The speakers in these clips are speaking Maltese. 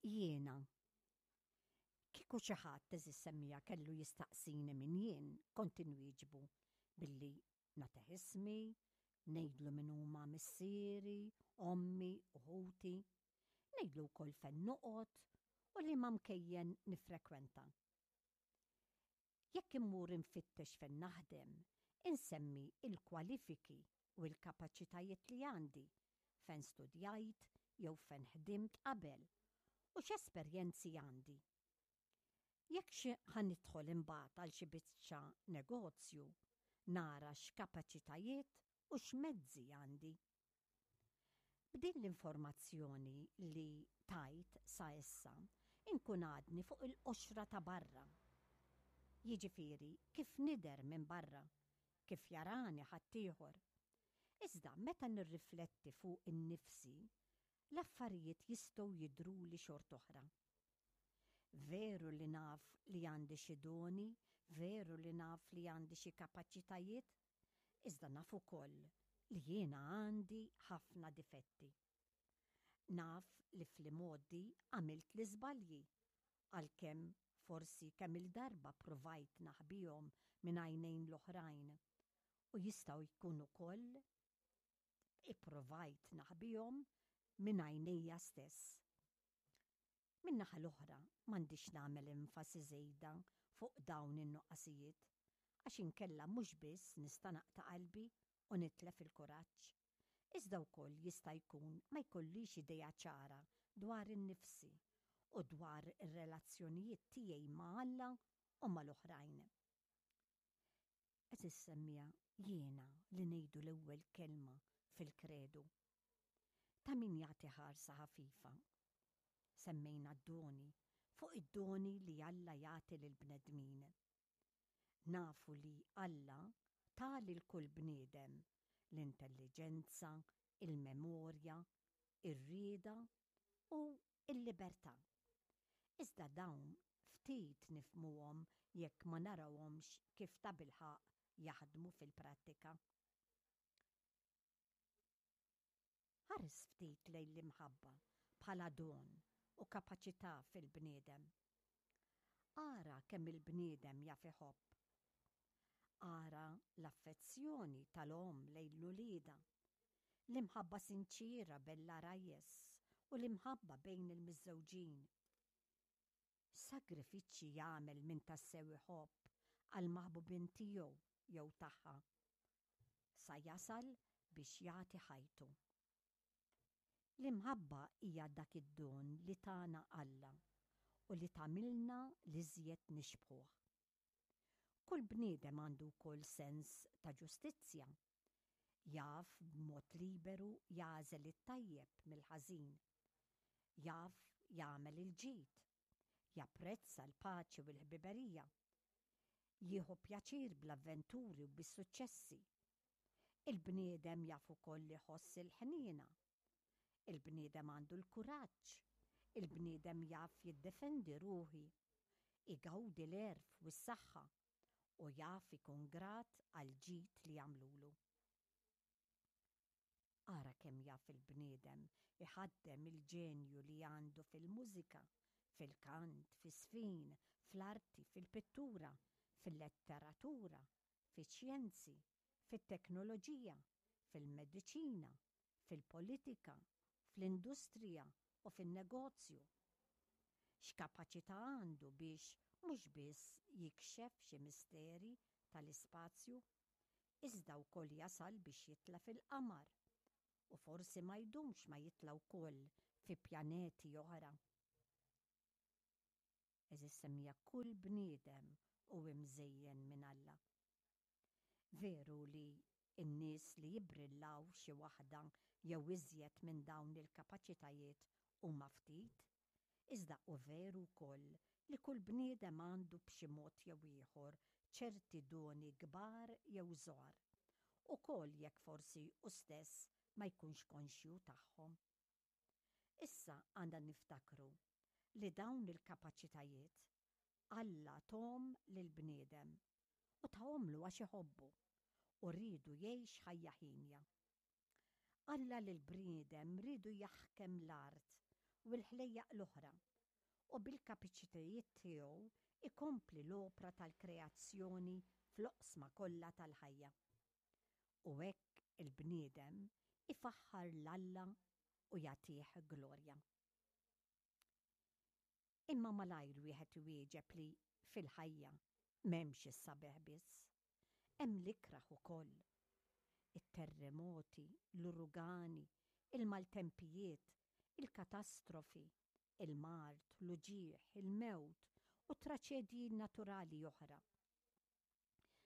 Jiena. Kieku xi ħadd għeżież semmiegħa kellu jistaqsini min jien, kont inwieġbu billi nagħtih ismi, ngħidlu min huma missieri, ommi u ħuti. Ngħidlu wkoll fejn noqgħod u liema mkejjen niffrekwenta. Jekk immur infittex fejn naħdem, insemmi l-kwalifiki u l-kapaċitajiet li għandi, fejn studjajt jew fejn ħdimt qabel u x'esperjenzi għandi. Jekk xi ħa nidħol imbagħad għal xi biċċa negozju, nara x'kapaċitajiet u x'mezzi għandi. B'din l-informazzjoni li tajt sa issa, inkun għadni fuq il-qoxra ta' barra. Jiġifieri kif nidher minn barra, kif jarani ħaddieħor. Iżda meta nirrifletti fuq innifsi, l-affarijiet jistgħu jidhruli xort'oħra. Veru li naf li għandi xi doni, veru li naf li għandi xi kapaċitajiet, Iżda naf ukoll li jiena għandi ħafna difetti. Naf li fl-imgħoddi għamilt l-iżbalji, għalkemm forsi kemm-il darba ppruvajt naħbihom minn għajnejn l-oħrajn, u jistgħu jkun ukoll ippruvajt naħbihom minn għajnejja stess. Min-naħa l-oħra, m'għandix nagħmel enfasi żejda fuq dawn in-nuqqasijiet, għax inkella mhux biss nista' naqta' qalbi u nitlef il-kuraġġ, iżda wkoll jista' jkun ma jkollix idea ċara dwar innifsi u dwar ir-relazzjonijiet tiegħi ma' Alla u mal-oħrajn. Qed issemmiha jiena li ngħidu l-ewwel kelma fil-Kredu. Ta' min jagħti ħarsa ħafifa. Semmejna d-doni, fuq id-doni li Alla jagħti lill-bnedmin. Nafu li Alla ta lil kull bniedem l-intelliġenza, il-memorja, ir-rieda u l-libertà. Iżda dawn ftit nifhmuhom jekk ma narawhomx kif tabilħaqq jaħdmu fil-prattika. Ħares ftit lejn l-imħabba bħala don u kapaċità fil-bniedem. Ara kemm il-bniedem jaf iħobb. Ara l-affezzjoni tal-omm lejn l-uliedha, l-imħabba sinċiera bejn l-għarajjes u l-imħabba bejn il-miżżewġin. X'sagrifiċċji jagħmel min tassew iħobb għall-maħbubin tiegħu jew tagħha, sa jasal biex jagħti ħajtu. L-imħabba hija dak id-don li tana Alla u li tagħmilna l-iżjed nixbħuh. Kull bniedem għandu wkoll sens ta' ġustizzja. Jaf b'mod liberu jagħżel it-tajjeb mill-ħażin. Jaf jagħmel il-ġid. Japprezza l-paċi u l-ħbiberija. Jieħu pjaċir bl-avventuri u bis-suċċessi. Il-bniedem jaf ukoll iħoss il-ħniena. Il-bniedem għandu l-kuraġġ. Il-bniedem jaf jiddefendi ruħi. Igawdi l-għerf u s-saħħa u jaf ikun grat għall-ġid li jagħmlulu. Ara kemm jaf il-bniedem iħaddem il-ġenju li għandu fil-mużika, fil-kant, fiż-żfin, fl-arti, fil-pittura, fil-letteratura, fix-xjenzi, fit-teknoloġija, fil-mediċina, fil-politika, fl-industrija u fin-negozju. X'kapaċità għandu biex mhux biss jikxef xi misteri tal-ispazju, iżda wkoll jasal biex jitla' fil-qamar u forsi ma jdumx ma jitla' wkoll fi pjaneti oħra. Għeżież semmiegħa kull bniedem hu imżejjen minn Alla. Veru li n-nies li jibbrillaw xi waħda jew iżjed minn dawn il-kapaċitajiet huma ftit, iżda hu veru wkoll li kull bniedem għandu b'xi mod jew ieħor ċerti doni kbar jew żgħar, ukoll jekk forsi hu stess ma jkunx konxju tagħhom. Issa għandna niftakru li dawn il-kapaċitajiet Alla thom lill-bniedem u tahomlu għax iħobbu u riedu jgħix ħajja hienja. Alla lill-bniedem riedu jaħkem l-art u l-ħlejjaq l-oħra, u bil-kapaċitajiet tiegħu ikompli l-opra tal-kreazzjoni fl-oqsma kollha tal-ħajja. U hekk il-bniedem ifaħħar 'l Alla u jagħtih glorja. Imma malajr wieħed iwieġeb li fil-ħajja m'hemmx is-sabiħ biss. Hemm l-ikrah ukoll. It-terremoti, l-urugani, il-maltempijiet, il-katastrofi, il-mard, l-uġigħ, il-mewt u traċedji naturali oħra.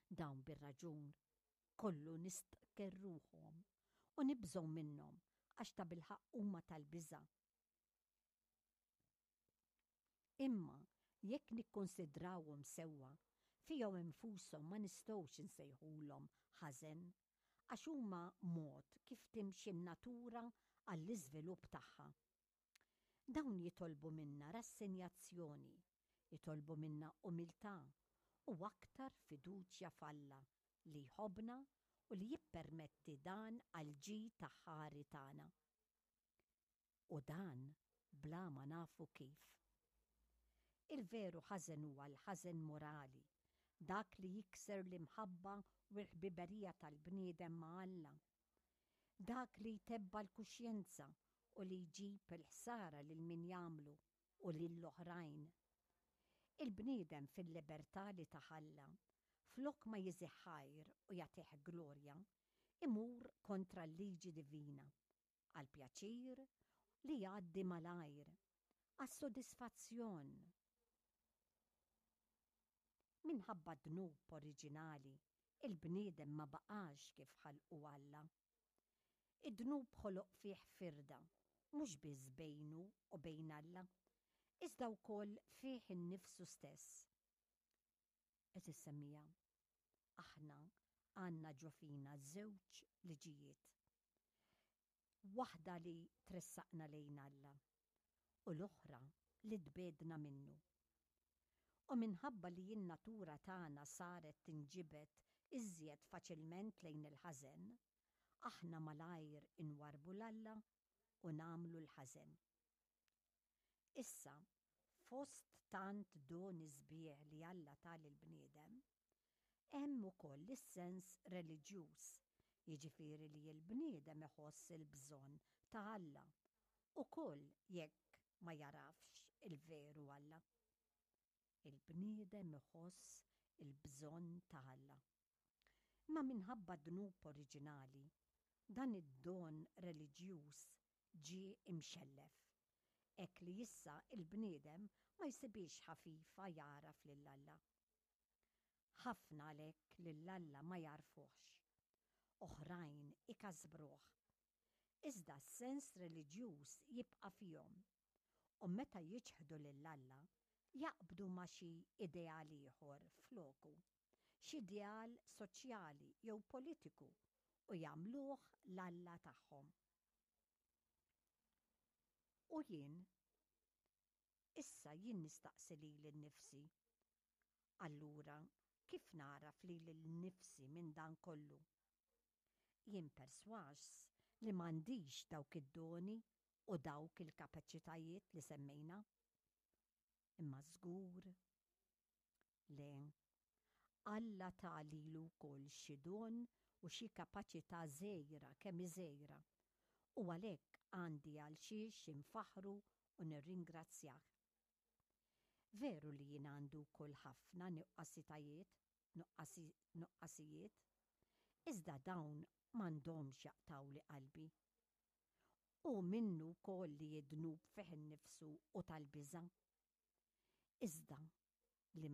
Dawn bir-raġun kollu nistkerrhuhom u nibżgħu minnhom għax tabilħaqq huma tal-biża'. Imma jekk nikkunsidrawhom sewwa, fihom infushom ma nistgħux insejħulhom ħażen, għax huma mod kif timxi n-natura għall-iżvilupp tagħha. Dawn jitolbu minna rassenjazzjoni, jitolbu minna umiltà u aktar fiduċja f'Alla li jħobbna u li jippermetti dan għall-ġid aħħari tagħna. U dan bla ma nafu kif. Il-veru ħażen huwa l-ħażen morali, dak li jikser l-imħabba u l-ħbiberija tal-bniedem ma' Alla, dak li jtebba' l-kuxjenza u li jġib il-ħsara lil min jagħmlu u lil oħrajn. Il-bniedem fil-libertà li tah Alla, flok ma jiżih ħajr u jagħtih glorja, imur kontra l-liġi divina, għall-pjaċir li jgħaddi malajr, għas-sodisfazzjon. Minħabba d-dnub oriġinali, il-bniedem ma baqax kif ħalqu Alla. Id-dnub ħoloq fih firda, mhux biss bejnu u bejn Alla, iżda wkoll fih innifsu stess. Għeżież semmiegħa, aħna għandna ġo fina żewġ liġijiet. Waħda li tressaqna lejn Alla u l-oħra li tbiegħdna minnu. U minħabba li n-natura tagħna saret tinġibed iżjed faċilment lejn il-ħażen, aħna malajr inwarrbu 'l Alla u nagħmlu l-ħażen. Issa, fost tant doni sbieħ li Alla ta lill-bniedem, hemm ukoll is-sens reliġjuż, jiġifieri li l-bniedem iħoss il-bżonn ta' Alla, ukoll jekk ma jagħrafx il-veru Alla. Il-bniedem iħoss il-bżonn ta' Alla. Imma minħabba d-dnub oriġinali, dan id-don reliġjuż ġie imxellef, hekk li issa l-bniedem ma jsibhiex ħafifa jagħraf lil Alla. Ħafna għalhekk lil Alla ma jagħrfuhx. Oħrajn ikasbruh. Iżda s-sens reliġjuż jibqa' fihom. U meta jiċħdu lil Alla, jaqbdu ma' xi ideal ieħor floku, xi ideal soċjali jew politiku u jagħmluh l-alla tagħhom. U jien? Issa jien nistaqsi lili nnifsi, Allura kif nagħraf lili nnifsi minn dan kollu? Jien persważ li m'għandix dawk id-doni u dawk il-kapaċitajiet li semmejna. Imma żgur Le. Alla ta lilu wkoll xi don u xi kapaċità żgħira kemm hi żgħira, u għalhekk għandi għalxiex infaħħru u nirringrazzjah. Veru li jien għandi wkoll ħafna nuqqasitajiet, nuqqasijiet, iżda dawn m'għandhomx jaqtgħuli qalbi. Hu minnu wkoll li d-dnub fih innifsu hu tal-biża'. Iżda.